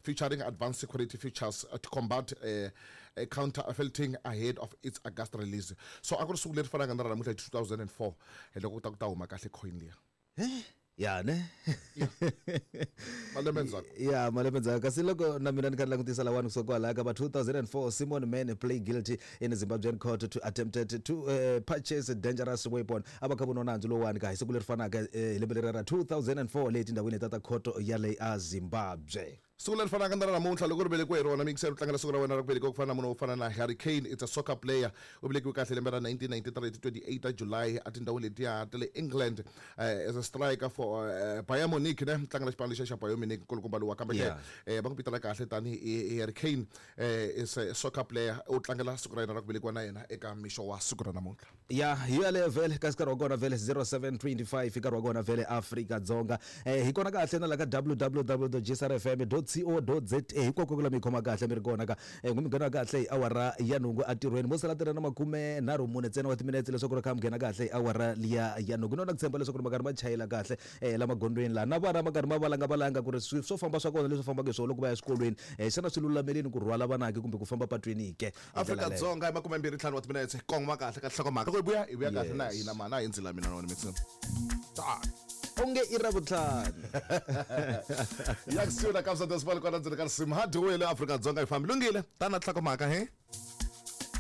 featuring advanced security features to combat counterfeiting ahead of its August release. So a ku ri siku leri fanaka na ra namuntlha hi 2004 hi loko ku ta ku ta huma kahle coin liya. Ya ne. Malembe ndzhaku. Ya, malembe ndzhaku. Kasi loko na mina ni kha ni langutisa lawani kusuka kwalaya ka va 2004, Simon Mann play guilty in Zimbabwean court to attempted to purchase a dangerous weapon. A va kha voniwa nandzu lowuwani ka hi siku leri fanaka hi lembe leri ra 2004 le tindhawini ta ta khoto ya le a Zimbabwe. Siku leri fanaka na ra namuntlha loko ri velekiwe hi rona, miyingiseri u tlangela siku ra wena ra ku velekiwa ku fana na munhu wo fana na Harry Kane, it's a soccer player. U velekiwe kahle lembe ra 1993 hi ti 28 ta July etindhawini letiya ta le England as a striker for Bayern Munich ne tlangela xipano lexiya xa Bayern Munich nkulukumba lowa kambe ke va n'wi vitana kahle tanihi Harry Kane is a soccer player u tlangela siku ra yena ra ku velekiwa na yena eka mixo wa siku ra namuntlha. Ya, hi yaleyo vhele kasi nkarhi wa kona vhele 07:25 nkarhi wa kona vhele Afrika-Dzonga. Hi kona kahle na la ka www.gsrfm.co.za hinkwako ku la mi khoma kahle mi ri kona ka n'wi mi nghena kahle hi awara ya nhungu entirhweni mo sala tirha na makume nharhu mune ntsena wa timinetse leswaku ri kha mi nghena kahle hi awara liya ya nhungu. Ni na ku tshemba leswaku ri ma karhi ma chayela kahle la magondzweni laha na vana ma karhi ma valanga valanga ku ri swo famba swa kona leswi fambaka hi swona loko va ya eswikolweni xana swi lulamelini ku rhwala vanake kumbe ku famba patwini ke. Afrika Dzonga i makumembirhi ntlhanu wa timinetse kongoma kahle ka nhlokomhaka loko hi vuya hi vuya kahle na hina mana hi ndzila mina na wena mixin onge i ra vutlhanu ya kusuhi na Kabza De Small kwala ndzeni ka risimu ha dyiwile Afrika Dzonga yi fambi lunghile tana nhlokomhaka he.